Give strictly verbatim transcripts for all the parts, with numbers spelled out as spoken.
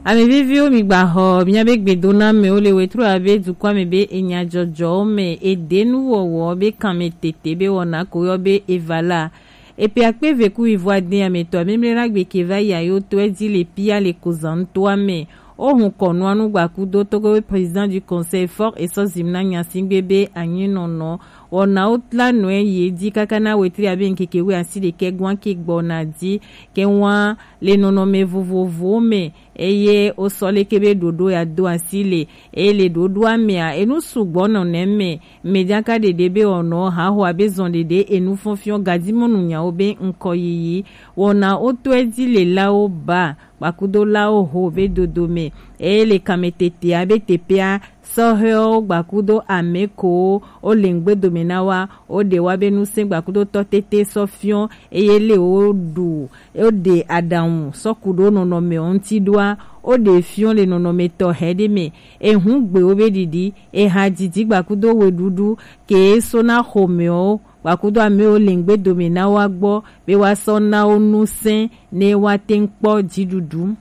Ame viviwo, mi gba xɔ miabe gbedoname wo le wetru abe dukɔa me be enyajɔjɔwo me edenu wɔwɔ be kanme tete be wɔna ko yɔ be evala. Epe akpe eve ku wivo ade ametɔ amemle na gbe ke va yi ayo to edi le pia le kozan toa me. O hun kɔnua nu gbakudo Togo be président du conseil fort esɔ zimna nyasingbe be anyi nɔnɔ wɔna wo tla nɔe yi edi kaka na wetri abe nkeke we asi ɖekɛ gwan ke gbɔna di ke wan le nɔnɔme vovovowo me. Eye wosɔ leke be ɖoɖo ya do asi le eye le ɖoɖoa mea enu sugbɔ nɔ nɛ me. Mejaka ɖeɖe be ɔnɔ haho abe zɔn ɖeɖe enu fɔnfiɔn gadimɔnu nyawo be ŋkɔ yiyi wɔna wotɔe dzi le lawo ba kpakudo lawo ho be dodo me. Eye le kame tetea be tepea sɔhɛwo gbakudo ame kowo wo le ŋgbe dome na wa wo ɖe wa be nusẽ gbakudo tɔ tete sɔ fiɔ eye le wo ɖu wo ɖe aɖaŋu sɔ ku ɖo nɔnɔme wo ŋuti ɖoa wo ɖe fiɔ le nɔnɔme tɔxɛ ɖe me. Ehu gbe wo be ɖiɖi eha didi gbakudo weɖuɖu ke so na xɔmewo gbakudo amewo le ŋgbe dome na wa gbɔ be wa sɔ na wo nusẽ ne wa te ŋ kpɔ dziɖuɖu.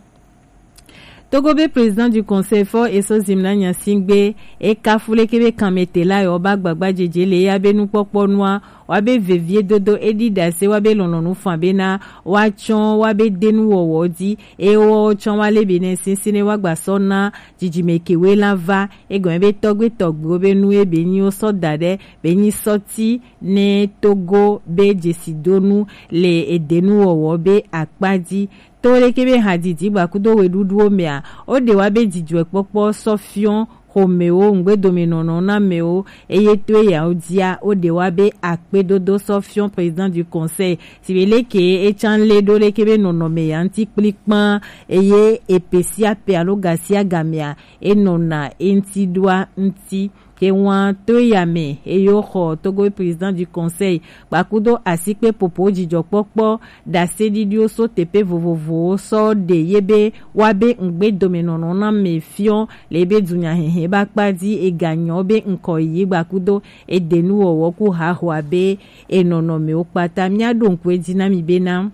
Togo be président du conseil fɔ eso zimna nyasingbe ekafu leke be kanmete la yɔ ba gbagba jeje le ya be nukpɔkpɔ nua wa be vevie dodo edi dase wa be lɔnlɔnu fan be na wa tsɔ wa be denu wɔwɔ di eye wɔ tsɔ wa le be ne sinsin ne wa gba sɔ na jijime kewe la va egɔme be tɔgbe tɔgbewo be nu ebe nyi wo sɔ da ɖe be nyi sɔti ne Togo be jesidonu le edenu wɔwɔ be akpa di. To leke be hadidi gbakudo weɖuɖuwo mea wo ɖe wa be dzidzɔkpɔkpɔ sɔ fiɔ xɔmewo ŋgbedomenɔnɔ na amewo eye to eyawo dia wo ɖe wa be akpedodo sɔ fiɔ président du conseil si be leke etsan le ɖo leke be nɔnɔme ya ŋuti kplikpan eye epe sia pe alo ga sia gamea enɔna eŋuti ɖoa ŋuti. Ke wan to ya me eye wo xɔ Togo président du conseil kpakudo asikpe popo dzidzɔkpɔkpɔ ɖaseɖiɖiwo so teƒe vovovowo sɔ ɖe ye be wa be ŋgbedomenɔnɔ na me fiɔ le be dunyahehe ba kpa di eganyɔ be ŋkɔ yi gbakudo edenuwɔwɔ ku hahoa be enɔnɔmewo kpata. Mía ɖo ŋku edzi na mi bena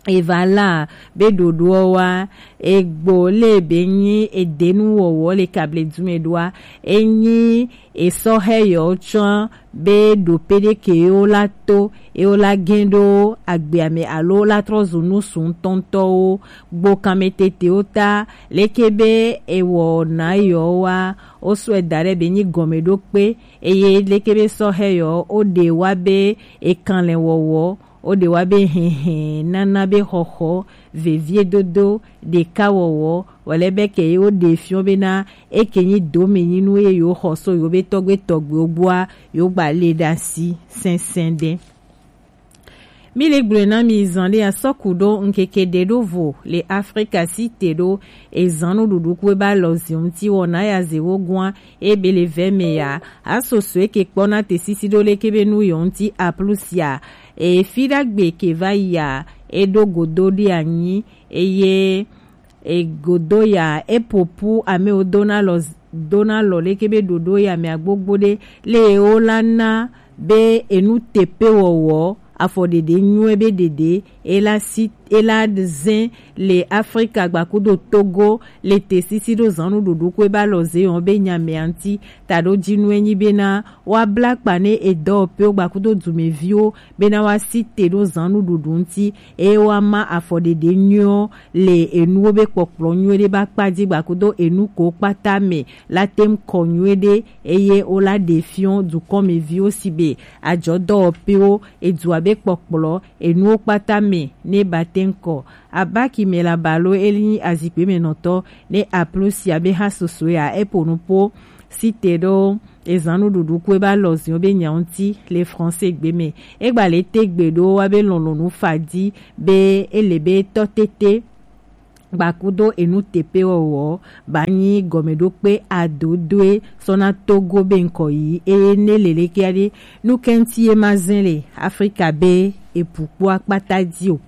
eva la be ɖoɖoɔ wa egbo le be nyi edenu wɔwɔ le kable dume ɖoa enyi esɔhɛ yɔ tsɔ be ɖo peɖe ke yo la to yo la gɛn ɖo agbea me alo la trɔ zu nu suntɔntɔwo gbo kanme tetewo ta leke be ewɔ na yɔ wa wo sɔe da ɖe be nyi gɔmeɖokpe eye leke be sɔhɛ yɔ wo ɖe wa be ekanlɛ wɔwɔ wo ɖe wa be hɛhɛ nana be xɔxɔ veviedodo ɖeka wɔwɔ wòle be ke ye wo ɖe fiɔ bena eke nyi domenyinu ye yewo xɔ so yewo be tɔgbe tɔgbewo gbɔa yewo gba le ɖe asi sɛnsɛn ɖe. Mi le gblɔe na mi zan ɖe asɔku ɖo ŋkeke ɖe ɖo vo le Afrika si te ɖo ezan nuɖuɖu ku eba lɔ zi ŋuti wɔna ya ze wo gua ebe le vɛ me ya asoso eke kpɔ na te sisi ɖo leke be nu yɔ ŋuti aplusia efi ɖagbe ke va yia eɖo godo ɖe anyi eye egodo ya epopu amewo dona lɔ dona lɔ leke be ɖoɖo ya me agbogbo ɖe le wo la na be enu tepe wɔwɔ afɔɖeɖe nyuie be ɖeɖe ela si ela zɛn le Afrika gbakudo Togo le te sisi ɖo zanu ɖuɖu ko eba lɔ ze yɔ be nyamea ŋuti taɖo dzinu enyi bena wa bla kpa ne edɔwɔƒewo gbakudo dumeviwo bena wa si te ɖo zanu ɖuɖu ŋuti eye wa ma afɔɖeɖe nyuie le enuwo be kpɔkplɔ nyuie ɖe ba kpa dzi gbakudo enu ko kpata me la tem kɔ nyuie ɖe eye wo la ɖe fiɔ dukɔmeviwo si be adzɔdɔwɔƒewo edua be kpɔkplɔ enuwo kpata me ne ba tem kɔ abaki me la balo eli azikpe me nɔtɔ ne aplo sia be ha soso ya epo nupo si te ɖo ezan nuɖuɖu ku eba lɔ ziɔ be nya ŋuti le français gbe me egba le te gbe ɖo wa be lɔlɔnu fadi be ele be tɔ tete gbakudo enu tepe wɔwɔ ba nyi gɔmeɖokpe adodoe sɔna Togo be ŋkɔ yi eye ne lelekea ɖe nukɛnti ye ma zɛn le Afrika be epu kpo akpata di o.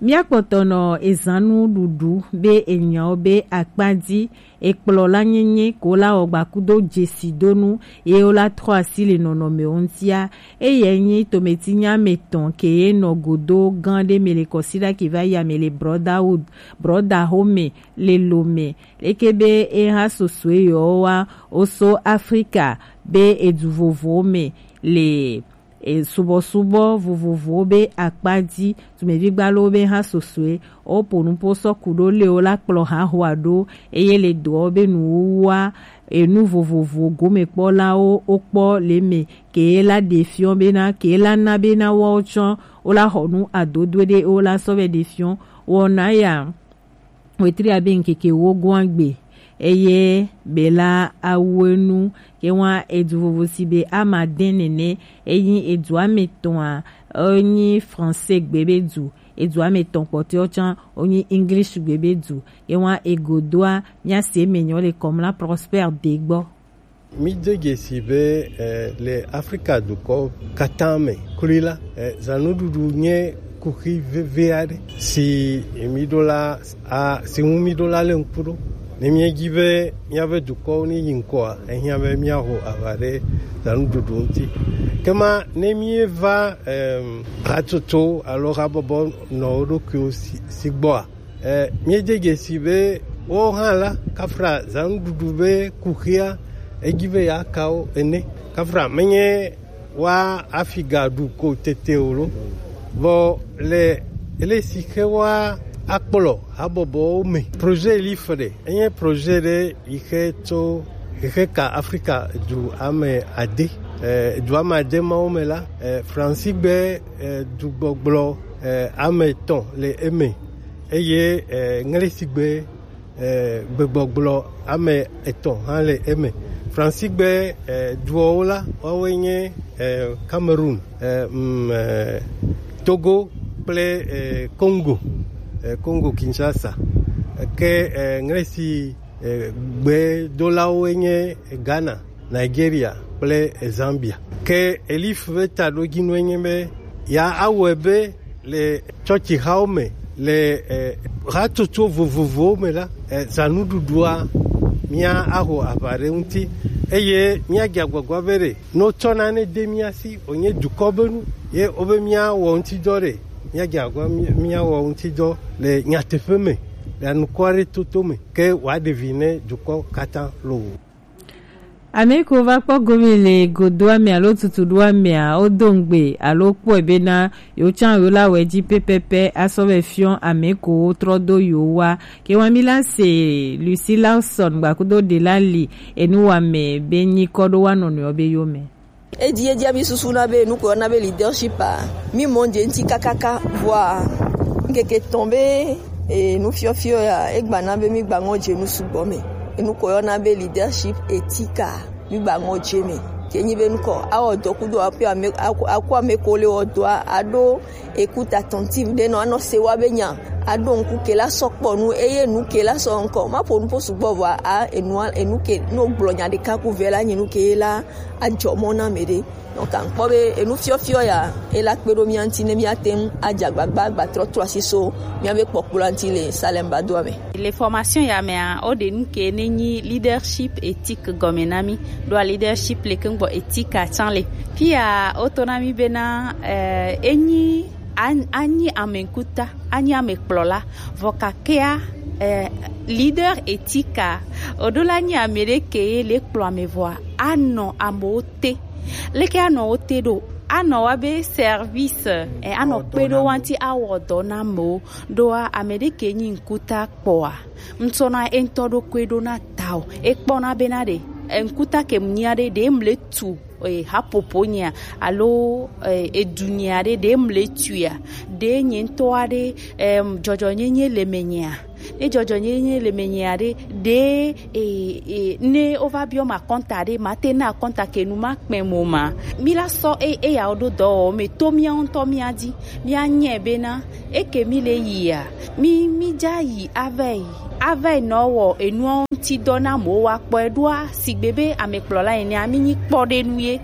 Míakpɔtɔ nɔ ezannu ɖuɖu be enyawo be akpa ji ekplɔ la nyenye ko la wɔ gbakudo jesidonu ye wo la trɔ asi le nɔnɔme wo ŋutia. Eye nyi tometinya me tɔn ke ye nɔ godo gan ɖe me le kɔsiɖa ki va ya me le Brotherhood, Brother Home, le lo me. Leke be e ha sosoe yɔ wa o so Afrika be edu vovowo me le e, subɔsubɔ vovovowo be akpa ji, tumevigbalɔwo be ha sosoe, o po nupo sɔ ku ɖo le o la kplɔ ha hoa ɖo, eye le dɔ be nuwuwua, enu vovovo gomekpɔlawo wokpɔ le me, ke la ɖe fiɔ bena, ke la na bena woawo tsɔ, wo la xɔ nu adodoe ɖe, wo la sɔ vɛ ɖe fiɔ, wɔna ya. Wetri abe ŋkeke ewo goa gbe, eye be la awu enu ke wa edu vovo si be ama dɛn nene, eyin edu ame tɔn a, enyi français gbe be du, edu ame tɔn kpɔtɔɛ tsã, wonyi English gbe be du, ke wa egodoa, mía se me nyɔ le Kɔmla Prosper de gbɔ. Mí do dzesi be, eh, le Afrika dukɔ katã me kloe la, eh, zãnuɖuɖu nye kuxi vevi aɖe si mí ɖo la, a, si ŋu mí ɖo la le ŋku ɖo. Ne míedi be míaƒe dukɔwo ne yi ŋkɔa, ehiã be míaho aʋa ɖe zãnuɖuɖu ŋuti. Ke ma ne míeva, em, hatsotso alo habɔbɔ nɔ wo ɖokuiwo si, si gbɔa, Eh, míede dzesi be wo hã la, kafra zãnuɖuɖu be kuxia, edzi be yeaka wo ene. Kafra menye wa afiga ɖu ko tete o lo. Vɔ le ele si xe wa akplɔ habɔbɔwo me. Projet Elif ɖe, enye projet ɖe yi xe tso, yi xe ka Afrika du ame ade. Eh, du ame ade mawo me la, eh, Fransigbe, eh, dugbɔgblɔ, eh, ame etɔ̃ le eme. Eye, eh, Ŋlesigbe, eh, gbegbɔgblɔ ame etɔ̃ hã le eme. Fransigbe, eh, duɔwo la, woawoe nye, eh, Cameroon, eh, mm, eh, Togo kple, eh, Congo, eh, Congo Kinshasa. Ke, eh, Ŋlesi, eh, gbedolawoe nye Ghana, Nigeria kple Zambia. Ke Elif be taɖodzinue nye be ya awɔe be le tsɔtsixawo me, le, eh, hatsotso vovovowo me la, eh, zãnuɖuɖua mía aho aʋa ɖe ŋuti, eye míadze agbagba be ɖe ne wotsɔ nane de mía si wònye dukɔ be nu ye wobe míawɔ ŋutidɔ ɖe, míadze agbagba mí-, míawɔ ŋutidɔ le nyateƒe me, le anukua ɖe toto me, ke wòaɖe vi ne dukɔ katã loo. Ame kewo va kpɔ gome le godoa me alo tutuɖoa mea, wodo ŋugbe alo kpɔe bena yewo tsã yewo la wɔe dzi pɛpɛpɛ asɔ vɛ fiɔ ame kewo trɔ do yewo wa. Ke wa mi la se Lucy Lawson gbakudo ɖe la li enu wa me be nyikɔ ɖo wa nɔnɔewo be yome. Edi edi mi susu na be nuko na be leadership a, mi mɔ je ŋuti kakaka vɔa ŋkeke tɔn be e, nufiɔfiɔ ya, egba na be mi gba ŋɔ je nu sugbɔ me. Enuko yɔ na be leadership éthique a, mi gba ŋɔ je me. Ke nyi be nukɔ, awɔ dɔ kudo aku ame, aku, aku ame ko le wɔ dɔa, aɖo écoute attentive ɖe nɔ, anɔ se wa be nya, aɖo ŋku ke la sɔ kpɔ nu, eye nu ke la sɔ ŋkɔ. Ma ƒo nu ƒo sugbɔ vɔa, a, enua, enu ke, no gblɔ nya ɖeka ku vɛ la, nyi nu ke la, adzɔ mɔ na me ɖe. Donc, aŋkpɔ be enu fiɔfiɔ ya, ela kpe ɖo mía ŋuti ne míate ŋu adze agbagba agbatrɔ trɔ asi so míabe kpɔkplɔa ŋuti le Salem Badoa me. Le formation ya mea, woɖe nu ke ne nyi leadership éthique gɔme na mí. Ɖoa leadership le ke ŋgbɔ éthique atsã le. Fia woto na mí bena, eh, enyi an-, anyi ame ŋkuta, anyi ame kplɔla, vɔ kakea, eh, leader éthique a, oɖo la nyi ame ɖe ke ye le kplɔ ame vɔa, anɔ amewo te. Leke anɔ wo te ɖo? Anɔ wa be service, eh, anɔ kpe ɖo wa ŋuti awɔ dɔ na amewo. Ɖoa ame ɖe ke nyi ŋkuta kpɔa, ŋtsɔna eŋutɔ ɖokui ɖo na ta o. Ekpɔna bena ɖe, eh, ŋkuta ke mu nyia ɖe, ɖe mle tu, eh, hapopo nyia, alo, eh, edu nyia ɖe, ɖe mle tuia, ɖe nye ŋutɔ aɖe, em, dzɔdzɔnyenye le me nyia. Ne dzɔdzɔnyenye le me nyia ɖe, ɖe, e, e, ne wova biɔ ma kɔnta ɖe, ma te na kɔnta ke nu ma kpɛ mo ma. Mi la sɔ e, eya wo ɖo dɔ wɔ me to mía ŋutɔ mía dzi. Mía nyɛ bena, eke mi le yia, mi, mi dza yi ava yi. Ava yi nɔ wɔ enuɔ ŋuti dɔ na mo wa kpɔ e ɖoa, sigbe be amekplɔla ene a, mi nyi kpɔ ɖe nu ye.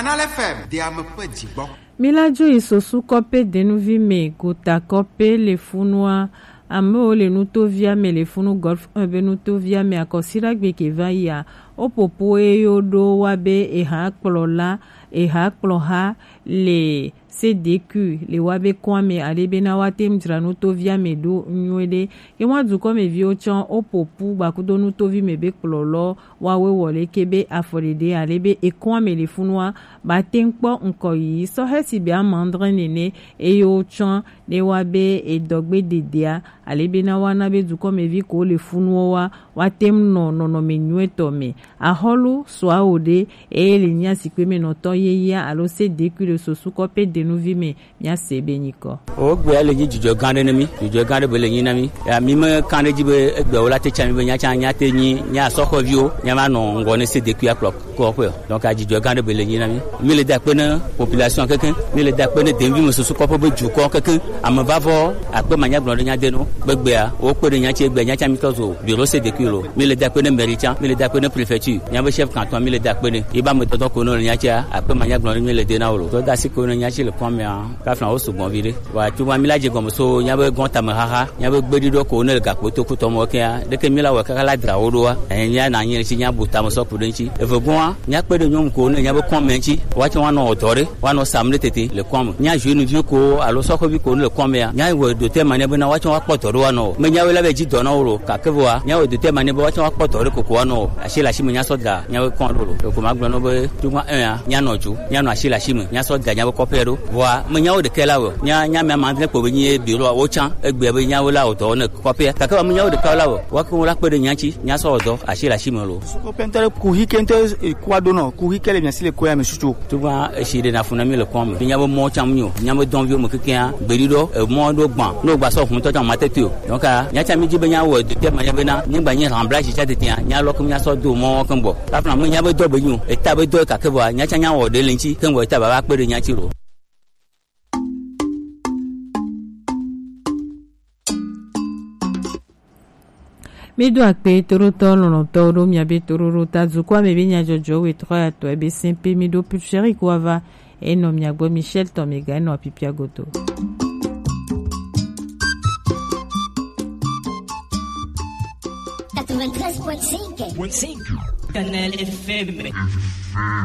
Canal F M, de ame ƒe dzigbɔ. Míla dzo yi Sosu kɔƒe denuvi me, gota kɔƒe le funua. Amewo le nutovia me le funu Golf un be nutovia me akɔsiɖagbe ke va yia. Woƒoƒo eye woɖo wa be eha kplɔla, eha kplɔha le C D Q le wa be kɔa me ale be na woate ŋu dzra nutovia me ɖo nyuie ɖe. Ye wa dukɔmeviwo tsɔ woƒoƒu gbakudo nutovi me be kplɔlɔ woawoe wɔ leke be afɔɖeɖe ale be ekɔa me le funua ba te ŋu kpɔ ŋkɔ yiyi sɔhɛ si be ame adre nene eye wotsɔ ɖe wa be edɔgbe dedea ale be na woana be dukɔmevi ko le funuwo wa woate ŋu nɔ nɔnɔme nyuietɔ me. Axɔlu sɔawo ɖe eye le nya zikpui me nɔtɔ yeyea alo C D Q le Sosu kɔƒe denuvi me. Míase be nyikɔ. Wo gbea le nyi dzidzɔ gã ɖe ne mí. Dzidzɔ gã ɖe be le nyi na mí. Ya mí me kan ɖe dzi be egbe wo la te tsa mí be nya tsa nya te nyi nya sɔxɔviwo nya ma nɔ ŋgɔ ne C D Q akplɔ kɔƒe o. Donc adzidzɔ gã ɖe be le nyi na mí. Mí le da akpe ne population keke. Mí le da akpe ne denvi me susu kɔƒe be dukɔ keke. Ame va vɔ akpe ma nya gblɔ ɖe nya de no. Be gbea wo kpe ɖe nya tse gbe nya tsa mí tɔ zo bureau C D Q lo. Mí le da akpe ne mairie tsa. Mí le da akpe ne préfecture. Nya be chef canton mí le da akpe ne. Yi ba me tɔtɔ ko no le nya tsa akpe ma nya gblɔ ɖe mí le de na wo lo. Dɔ da si ko ne nya tsi le kɔmea. Kafla wo sugbɔ vi ɖe. Wa tuma mi la dze gɔme so nya be gɔn tame xaxa, nya be gbeɖiɖɔ ko ne le gakpo to kutɔ mɔ kea, ɖeke mi la wɔ kaka la dra wo ɖoa. Enya na nyi si nya bu tame sɔ ku ɖe ŋtsi. Eve gɔa, nya kpe ɖe nyɔnu ko ne nya be kɔn mɛ ŋtsi. Wa tsɔ wa nɔ dɔ ɖe, wa nɔ sam ɖe tete le kɔn me. Nya jeune vi ko alo sɔxɔ vi ko ne le kɔn mɛa, nya wɔ do te mane be na wa tsɔ wa kpɔ dɔ ɖo wa nɔ. Me nya we la be dzi dɔ na wo lo, ka ke voa, nya wɔ do te mane be wa tsɔ wa kpɔ dɔ ɖe koko wa nɔ. Asi la si me nya sɔ da, nya we kɔn ɖo lo. Ko ma gblɔ no be tuma enya, nya nɔ ju, nya nɔ asi la si me, nya sɔ da nya be kɔƒe ɖo. Vɔa, menyawo ɖekɛ la wɔ. Nya, nya mea ma adre kpo be nyi biro a wo tsã. Egbe be nyawo la wɔ dɔ ne kɔƒea. Gake wa menyawo ɖeka la wɔ. Wa ko la kpe ɖe nya ŋtsi, nya sɔ wɔ dɔ, asi le asi me lo. Sukɔ pɛntɛ ɖe kuxi ke ŋutɔ, eh, kua ɖo nɔ, kuxi ke le mia si le koya me susu. Tugba esi ɖe na fu na mi le kɔn me. Nya be mɔ tsã mi o. Nya be dɔn viwo me kekea, gbeɖiɖɔ, eh, mɔ ɖo gbã. No gba sɔ hun tɔ tsã ma tete o. Donc, ah, nya tsã mi dzi be nya wɔ de te ma nya be na, nyigba nyi rembla si tsã tetea, nya lɔ ke nya sɔ do mɔ ke gbɔ. Kafla me nya be dɔ be nyo, eta be dɔ kake vɔa, nya tsã nya wɔ ɖe le ŋtsi, ke ŋgɔ eta baba kpe ɖe nya tsi lo. Mi do akpe toɖotɔ lɔlɔtɔwo ɖo mia be toɖoɖo ta dukɔa me be nyadzɔdzɔ we trɔ ya tɔ ebe sɛn pe mi ɖo pulferi ko ava enɔ mia gbɔ Michel tɔ mi ga enɔ apipia godo. Quatre-vingt-treize point cinq. Canal F M.